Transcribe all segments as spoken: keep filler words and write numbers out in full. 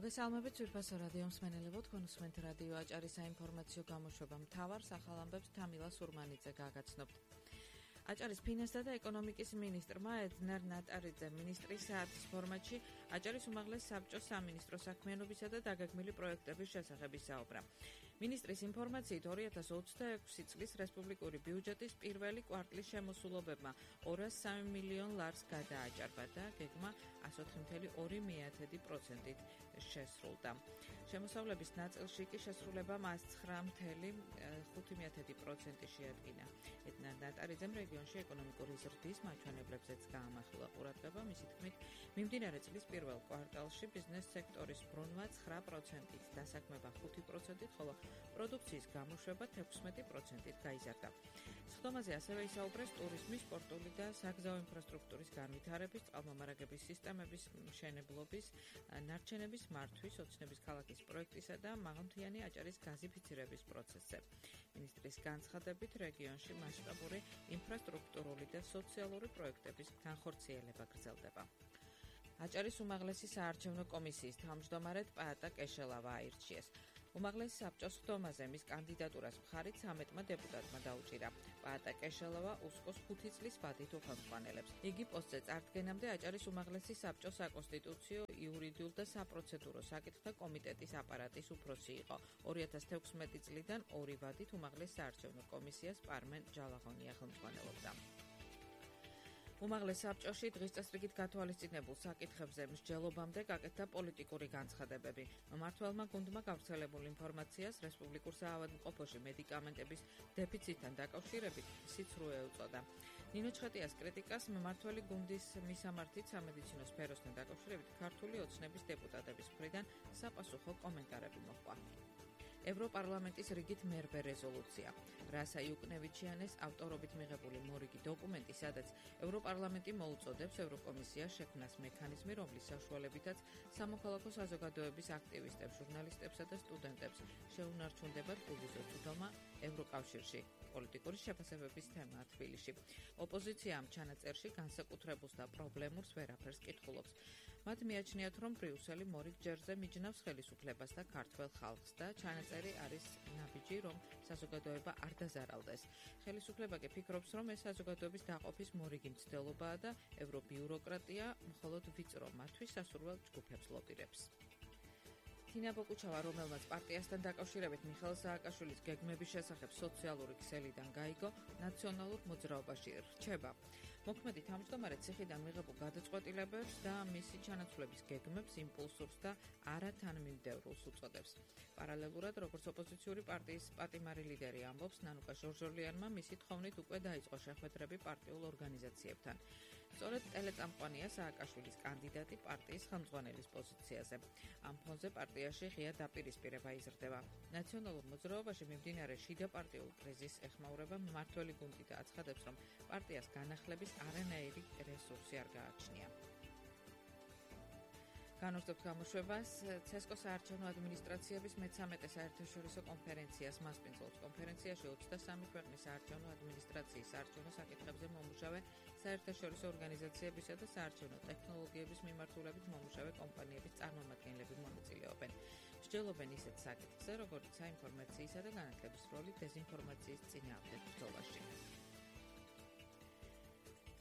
მოგესალმებით ძვირფასო რადიო მსმენელებო, თქვენ უსმენთ რადიო აჭარის საინფორმაციო გამოშვება მთავარ სახალამბებს თამილა სურმანიძე გაგაცნობთ. აჭარის ფინანსთა და ეკონომიკის მინისტრმა ედნარ ნატარიძე მინისტრის საათის ფორმატში აჭარის უმაღლეს საბჭოს სამინისტრო საქმიანობისა და დაგეგმილი პროექტების შესახებ ისაუბრა. მინისტრის ინფორმაციით ორი ათას ოცდაექვსი წლის რესპუბლიკური ბიუჯეტის პირველი კვარტლის შემოსულობებმა ორას სამი მილიონ ლარს გადააჭარბა და გეგმა ას ოთხი მცდამეტი ორი პროცენტით შესრულდა. შემოსავლების ნაწილში კი შესრულებამ ას ცხრა მცდამეტი ხუთი პროცენტი შეადგინა. ედნარ ნატარიძემ რეგიონში ეკონომიკური ზრდის მაჩვენებლებზეც გაამახვილა ყურადღება, მისი თქმით, მიმდინარე წლის პირველ კვარტალში ბიზნეს სექტორის ბრუნვა ცხრა პროცენტით, დასაქმება ხუთი პროცენტით, ხოლო პროდუქციის გამოშვება თექვსმეტი პროცენტით გაიზარდა. სხდომაზე ასევე ისაუბრეს ტურიზმის, სპორტული და საგზაო ინფრასტრუქტურის განვითარების, წყალმომარაგების სისტემების მშენებლობის, ნარჩენების მართვის, ოცნების ქალაქის პროექტისა და მაღალმთიანი აჭარის გაზიფიცირების პროცესზე. მინისტრის განცხადებით, რეგიონში მასშტაბური ინფრასტრუქტურული და სოციალური პროექტების განხორციელება გრძელდება. აჭარის უმაღლესი საარჩევნო კომისიის თავმჯდომარედ პაატა კეშელავა აირჩიეს. უმაღლეს საბჭოს სხდომაზე მის კანდიდატურას მხარი ცამეტმა დეპუტატმა დაუჭირა. პაატა კეშელავა უსკოს ხუთი წლის ვადით უხელმძღვანელებს. იგი პოსტზე წარდგენამდე აჭარის უმაღლესი საბჭოს საკონსტიტუციო, იურიდიულ და საპროცედურო საკითხთა კომიტეტის აპარატის უფროსი იყო. ორი ათას თექვსმეტი წლიდან ორი ვადით უმაღლეს საარჩევნო კომისიას პარმენ ჯალაღონია ხელმძღვანელობდა. უმაღლეს საბჭოში დღის წესრიგით გათვალისწინებულ საკითხებზე მსჯელობამდე გაკეთდა პოლიტიკური განცხადებები. მმართველმა გუნდმა გავრცელებულ ინფორმაციას რესპუბლიკურ საავადმყოფოში მედიკამენტების დეფიციტთან დაკავშირებით სიცრუე უწოდა. ნინო ჩხეტიას კრიტიკას მმართველი გუნდის მისამართით სამედიცინო სფეროსთან დაკავშირებით ქართული ოცნების დეპუტატების მხრიდან საპასუხო კომენტარები მოჰყვა. ევროპარლამენტის რიგით მერვე რეზოლუცია. რასა იუკნევიჩიანეს ავტორობით მიღებული მორიგი დოკუმენტი, სადაც ევროპარლამენტი მოუწოდებს ევროკომისიას შექმნას მექანიზმი, რომლის საშუალებითაც სამოქალაქო საზოგადოების აქტივისტებს, ჟურნალისტებსა და სტუდენტებს შეუნარჩუნდებათ უვიზო წვდომა ევროკავშირში. პოლიტიკური შეფასებების თემაა თბილისში. ოპოზიცია ამ ჩანაწერში განსაკუთრებულს და პრობლემურს ვერაფერს კითხულობს. მათ მიაჩნიათ, რომ ბრიუსელი მორიგ ჯერზე მიჯნავს ხელისუფლებას და ქართველ ხალხს და ჩანაწერი არის ნაბიჯი, რომ საზოგადოება არ დაზარალდეს. ხელისუფლება კი ფიქრობს, რომ ეს საზოგადოების დაყოფის მორიგი მცდელობაა და ევრობიუროკრატია მხოლოდ ვიწრო მათთვის სასურველ ჯგუფებს ლობირებს. თინა ბოკუჩავა, რომელმაც პარტიასთან დაკავშირებით მიხეილ სააკაშვილის გეგმების შესახებ სოციალური ქსელიდან გაიგო, ნაციონალურ მოძრაობაში რჩება. მოქმედი თავმჯდომარე ციხიდან მიღებულ გადაწყვეტილებებს და მისი ჩანაცვლების გეგმებს იმპულსურს და არათანმიმდევრულს უწოდებს. პარალელურად, როგორც ოპოზიციური პარტიის პატიმარი ლიდერი ამბობს, ნანუკა ჟორჟოლიანმა მისი თხოვნით უკვე დაიწყო შეხვედრები პარტიულ ორგანიზაციებთან. სწორედ ტელეწამყვანია სააკაშვილის კანდიდატი პარტიის ხელმძღვანელის პოზიციაზე. ამ ფონზე პარტიაში ღია დაპირისპირება იზრდება. ნაციონალურ მოძრაობაში მიმდინარე შიდა პარტიულ კრიზისს ეხმაურება მმართველი გუნდი და აცხადებს, რომ პარტიას განახლების არანაირი რესურსი არ გააჩნია. განვრცობთ გამოშვებას ცესკოს საარჩევნო ადმინისტრაციების მეცამეტე საერთაშორისო კონფერენციას მასპინძლობს. კონფერენციაში ოცდასამი ქვეყნის საარჩევნო ადმინისტრაციის საარჩევნო საკითხებზე მომუშავე საერთაშორისო ორგანიზაციებისა და საარჩევნო ტექნოლოგიების მიმართულებით მომუშავე კომპანიების წარმომადგენლები მონაწილეობენ. მსჯელობენ ისეთ საკითხზე, როგორც საინფორმაციისა და განათლების როლი დეზინფორმაციის წინააღმდეგ ბრძოლაში.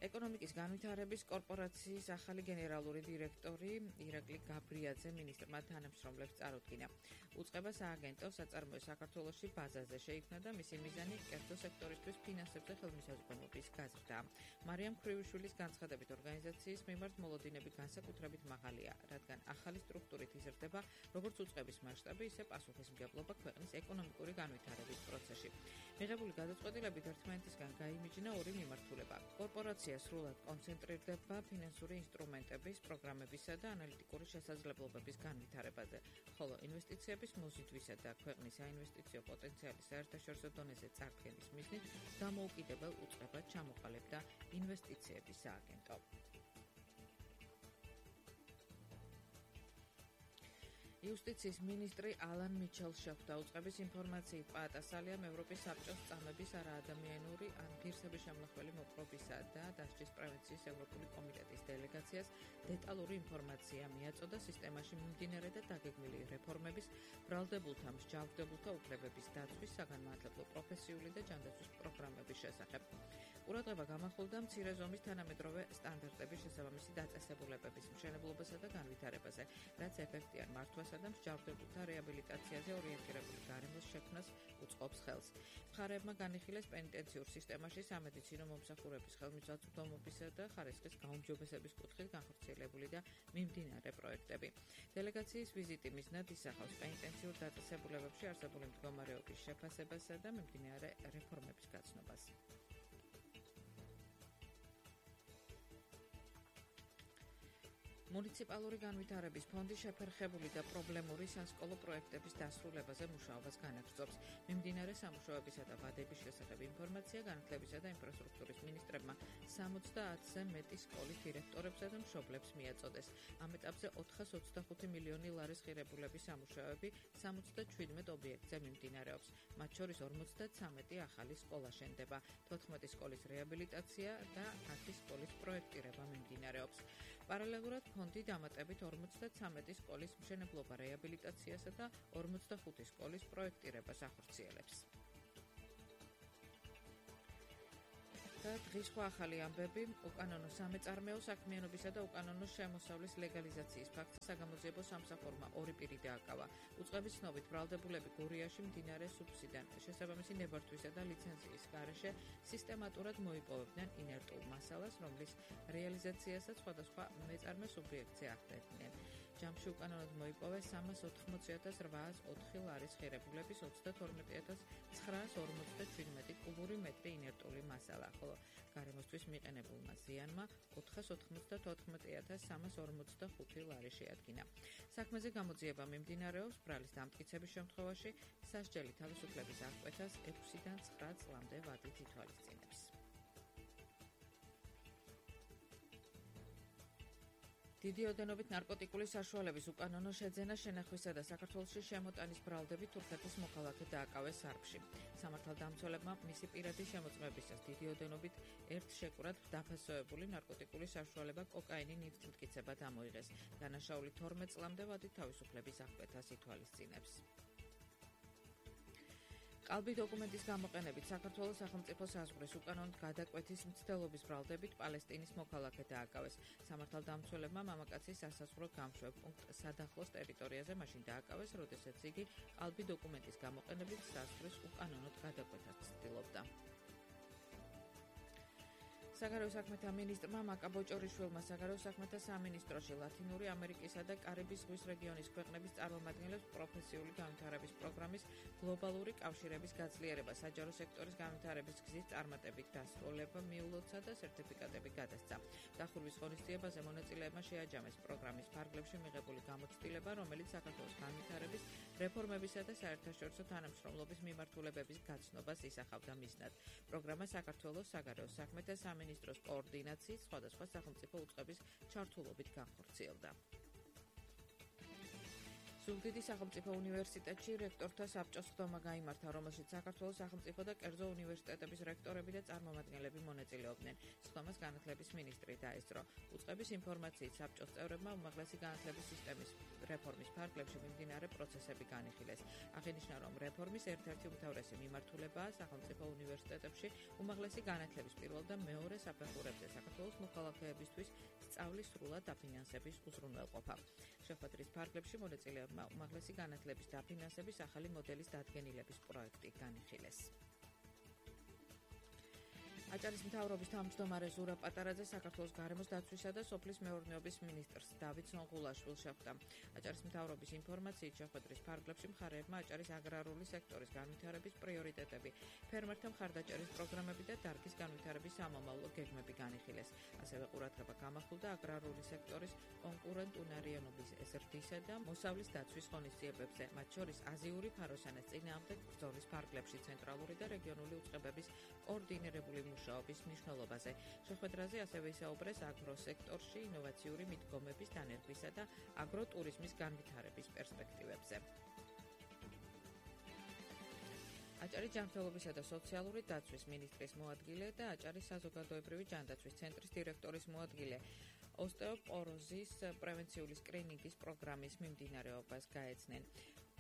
ეკონომიკის განვითარების კორპორაციის ახალი გენერალური დირექტორი ირაკლი გაბრიაძე მინისტრმა თანამშრომლებს წარუდგინა. უწყება სააგენტო საწარმოო საქართველოში ბაზაზე შეიქმნა და მისი მიზანი კერძო სექტორისთვის ფინანსებზე ხელმისაწვდომობის გაზრდაა. მარიამ ქრივიშვილის განცხადებით, ორგანიზაციის მიმართ მოლოდინები განსაკუთრებით მაღალია, რადგან ახალი სტრუქტურით იზრდება როგორც უწყების მასშტაბი, ისე პასუხისმგებლობა ქვეყნის ეკონომიკური განვითარების პროცესში. მიღებული გადაწყვეტილებით ერთმანეთისგან გაიმიჯნა ორი მიმართულება. კორპორაცია სრულად კონცენტრირდება ფინანსური ინსტრუმენტების, პროგრამებისა და ანალიტიკური შესაძლებლობების განვითარებაზე, ხოლო ინვესტიციების მოზიდვისა და ქვეყნის საინვესტიციო პოტენციალის საერთაშორისო დონეზე წარდგენის მიზნით დამოუკიდებელ უწყებად ჩამოყალიბდა ინვესტიციების სააგენტო. იუსტიციის მინისტრი ალან მიჩელს შეხვდა უწყების ინფორმაციით პაატასალიამ ევროპის საბჭოს წამების არაადამიანური ან ღირსების შემლახველი მოპყრობისა და დასჯის პრევენციის ევროპული კომიტეტის დელეგაციას დეტალური ინფორმაცია მიაწოდა სისტემაში მიმდინარე და დაგეგმილი რეფორმების, ბრალდებულთა, მსჯავრდებულთა უფლებების დაცვის, საგანმანათლებლო პროფესიული და ჯანდაცვის პროგრამების შესახებ. ყურადღება გამახვილდა მცირე ზომის თანამედროვე სტანდარტების შესაბამისი დაწესებულებების მშენებლობასა და განვითარებაზე, რაც ეფექტიან მართვასა და მსჯავრდებულთა რეაბილიტაციაზე ორიენტირებული გარემოს შექმნას უწყობს ხელს. მხარეებმა განიხილეს პენიტენციურ სისტემაში სამედიცინო მომსახურების ხელმისაწვდომობისა და ხარისხის გაუმჯობესების კუთხით განხორციელებული და მიმდინარე პროექტები. დელეგაციის ვიზიტი მიზნად ისახავს პენიტენციურ დაწესებულებებში არსებული მდგომარეობის შეფასებასა და მიმდინარე რეფორმების გაცნობას. მუნიციპალური განვითარების ფონდი შეფერხებული და პრობლემური სასკოლო პროექტების დასრულებაზე მუშაობას განაგრძობს. მიმდინარე სამუშაოებისა და ვადების შესახებ ინფორმაცია განათლებისა და ინფრასტრუქტურის მინისტრებმა სამოცდაათზე მეტი სკოლის დირექტორებსა და მშობლებს მიაწოდეს. ამ ეტაპზე ოთხას ოცდახუთი მილიონი ლარის ღირებულების სამუშაოები სამოცდაჩვიდმეტ ობიექტზე მიმდინარეობს. მათ შორის ორმოცდათვრამეტი ახალი სკოლა შენდება, თოთხმეტი სკოლის რეაბილიტაცია და ათი სკოლის პროექტირება მიმდინარეობს. პარალელურად ფონდი დამატებით ორმოცდათვრამეტი სკოლის მშენებლობა რეაბილიტაციასა და ორმოცდახუთი სკოლის პროექტირებას ახორციელებს. და დღის სხვა ახალი ამბები, უკანონო სამეწარმეო საქმიანობისა და უკანონო შემოსავლის ლეგალიზაციის ფაქტს საგამოძიებო სამსახურმა ორი პირი დააკავა. უწყების ცნობით ბრალდებულები გურიაში მდინარე სუფსიდან შესაბამისი ნებართვისა და ლიცენზიის გარეშე სისტემატურად მოიპოვებდნენ ინერტულ მასალას, რომლის რეალიზაციასაც სხვადასხვა მეწარმე სუბიექტზე ახდენდნენ. ჯამში უკანონოდ მოიპოვეს სამას ოთხმოცი ათას რვაას ოთხი ლარის ღირებულების ოცდათორმეტი ათას ცხრაას ორმოცდაჩვიდმეტი კუბური მეტრი ინერტული მასალა, ხოლო გარემოსთვის მიყენებულმა ზიანმა ოთხას ოთხმოცდათოთხმეტი ათას სამას ორმოცდახუთი ლარი შეადგინა. საქმეზე გამოძიება მიმდინარეობს, ბრალის დამტკიცების შემთხვევაში სასჯელი თავისუფლების აღკვეთას ექვსიდან ცხრა წლამდე ვადით ითვალისწინებს. დიდი ოდენობით ნარკოტიკული საშუალების უკანონო შეძენა, შენახვისა და საქართველოში შემოტანის ბრალდებით თურქეთის მოქალაქე დააკავეს სარფში. სამართალდამცველებმა მისი პირადი შემოწმებისას დიდი ოდენობით ერთ შეკვრად დაფასოებული ნარკოტიკული საშუალება კოკაინი ნივთმტკიცება დამოიღეს. დანაშაული თორმეტ წლამდე ვადით თავისუფლების აღკვეთას ითვალისწინებს. ყალბი დოკუმენტის გამოყენებით საქართველოს სახელმწიფო საზღვრის უკანონოდ გადაკვეთის მცდელობის ბრალდებით პალესტინის მოქალაქე დააკავეს. სამართალდამცველებმა მამაკაცის სასაზღვრო გამშვებ პუნქტ სადახლოს ტერიტორიაზე მაშინ დააკავეს, როდესაც იგი ყალბი დოკუმენტის გამოყენებით საზღვრის უკანონოდ გადაკვეთას ცდილობდა. საგარეო საქმეთა მინისტრმა მაკა ბოჭორიშვილმა საგარეო საქმეთა სამინისტროში ლათინური ამერიკისა და კარიბის ზღვის რეგიონის ქვეყნების წარმომადგენლებს პროფესიული განვითარების პროგრამის გლობალური კავშირების გაძლიერება, საჯარო სექტორის განვითარების გზის წარმატებით დასრულება მიულოცა და სერტიფიკატები გადასცა. დახურვის ღონისძიებაზე მონაწილეებმა შეაჯამეს პროგრამის ფარგლებში მიღებული გამოცდილება, რომელიც საქართველოს განვითარების, რეფორმებისა და საერთაშორისო თანამშრომლობის მიმართულებების გაცნობას ისახავდა მიზნად. პროგრამა საქართველოს საგარეო საქმეთა სამინისტროს მინისტროს კოორდინაციის სხვადასხვა სახელმწიფო უწყების ჩართულობით განხორციელდა. ზუგდიდის სახელმწიფო უნივერსიტეტში რექტორთა საბჭოს ხდომა გაიმართა, რომელშიც საქართველოს სახელმწიფო და კერძო უნივერსიტეტების რექტორები და წარმომადგენლები მონაწილეობდნენ. ხდომას განათლების მინისტრი დაესწრო. უწყების ინფორმაციით საბჭოს წევრებმა უმაღლესი განათლების სისტემის რეფორმის ფარგლებში მიმდინარე პროცესები განიხილეს. აღინიშნა, რომ რეფორმის ერთ-ერთი უმთავრესი მიმართულებაა სახელმწიფო უნივერსიტეტებში უმაღლესი განათლების პირველ და მეორე საფეხურებზე საქართველოს მოქალაქეებისთვის სწავლის სრულად დაფინანსების უზრუნველყოფა. შეხვედრის ფარგლებში მონაწილეებმა უმაღლესი განათლების დაფინანსების ახალი მოდელის დადგენილების პროექტი განიხილეს. აჭარის მთავრობის თავმჯდომარე ზურაბ პატარაძე საქართველოს გარემოს დაცვისა და სოფლის მეურნეობის მინისტრს დავით სონღულაშვილს შეხვდა. აჭარის მთავრობის ინფორმაციით შეხვედრის ფარგლებში მხარეებმა აჭარის აგრარული სექტორის განვითარების პრიორიტეტები, ფერმერთა მხარდაჭერის პროგრამები და დარგის განვითარების სამომავლო გეგმები განიხილეს. ასევე ყურადღება გამახვილდა აგრარული სექტორის კონკურენტუნარიანობის ზრდისა და მოსავლის დაცვის ღონისძიებებზე, მათ შორის აზიური ფაროსანას წინააღმდეგ ბრძოლის ფარგლებში ცენტრალური და რეგიონული უწყებების კოორდინირებული მუშაობის მნიშვნელობაზე. შეხვედრაზე ასევე ისაუბრეს აგროსექტორში ინოვაციური მიდგომების დანერგვისა და აგროტურიზმის განვითარების პერსპექტივებზე. აჭარის ჯანმრთელობისა და სოციალური დაცვის მინისტრის მოადგილე და აჭარის საზოგადოებრივი ჯანდაცვის ცენტრის დირექტორის მოადგილე ოსტეოპოროზის პრევენციული სკრინინგის პროგრამის მიმდინარეობას გაეცნენ.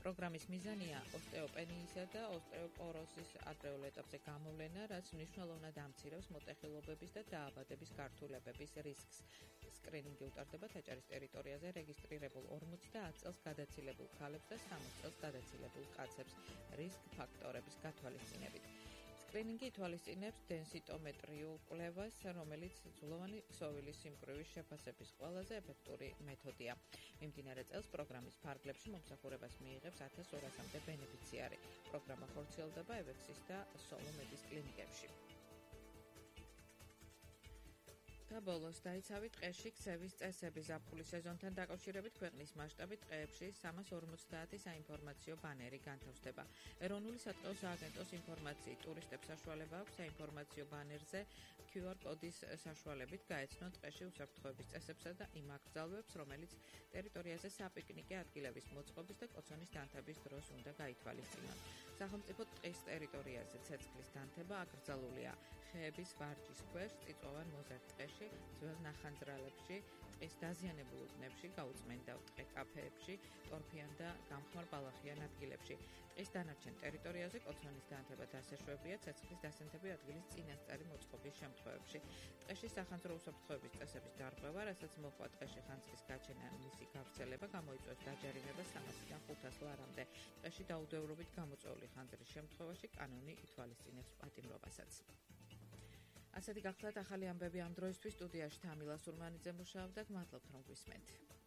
პროგრამის მიზანია ოსტეოპენიისა და ოსტეოპოროზის ადრეულ ეტაპზე გამოვლენა, რაც მნიშვნელოვნად ამცირებს მოტეხილობების და დაავადების გართულებების რისკს. სკრინინგი უტარდება აჭარის ტერიტორიაზე რეგისტრირებულ ორმოცდაათ წელს გადაცილებულ ქალებს და სამოცდაათ წელს გადაცილებულ კაცებს რისკ ფაქტორების გათვალისწინებით. სკრინინგი ითვალისწინებს დენსიტომეტრიულ კვლევას, რომელიც ძვლოვანი ქსოვილის სიმკვრივის შეფასების ყველაზე ეფექტური მეთოდია. მიმდინარე წელს პროგრამის ფარგლებში მომსახურებას მიიღებს ათას ორასამდე ბენეფიციარი. პროგრამა ხორციელდება ევექსის და სოლომედის კლინიკებში. და ბოლოს დაიცავით ტყეში ქცევის წესები. ზაფხულის სეზონთან დაკავშირებით ქვეყნის მასშტაბით ტყეებში სამას ორმოცდაათი საინფორმაციო ბანერი განთავსდება. ეროვნული სატყეო სააგენტოს ინფორმაციით ტურისტებს საშუალება აქვს საინფორმაციო ბანერზე კიუ არ კოდის საშუალებით გაეცნონ ტყეში უსაფრთხოების წესებსა და იმ აკრძალვებს, რომელიც ტერიტორიაზე საპიკნიკე ადგილების მოწყობის და კოცონის დანთების დროს უნდა გაითვალისწინონ. სახელმწიფო ტყის ტერიტორიაზე ცეცხლის დანთება აკრძალულია ხეების ვარჯის ქვეშ, წიწვოვან მოზარდ ტყეში, ძველ ნახანძრალებში, ტყის დაზიანებულ უბნებში, გაუწმენდა ტყე კაფეებში, ტორფიან და გამხმარ ბალახიან ადგილებში. ტყის დანარჩენ ტერიტორიაზე კოცონის დანთება დასაშვებია ცეცხლის დასანთები ადგილის წინასწარი მოწყობის შემთხვევებში. ტყეში სახანძრო უსაფრთხოების წესების დარღვევა, რასაც მოყვა ტყეში ხანძრის გაჩენა ან მისი გავრცელება, გამოიწვევს დაჯარიმებას სამასიდან ხუთას ლარამდე. ტყეში დაუდევრობით გამოწვეული ხანძრის შემთხვევაში კანონი ითვალისწინებს პატიმრობასაც. ასეთი გახლავთ ახალი ამბები ამ დროისთვის. სტუდიაში თამილა სურმანიძე მუშაობდა. გმადლობთ რომ გვისმენთ.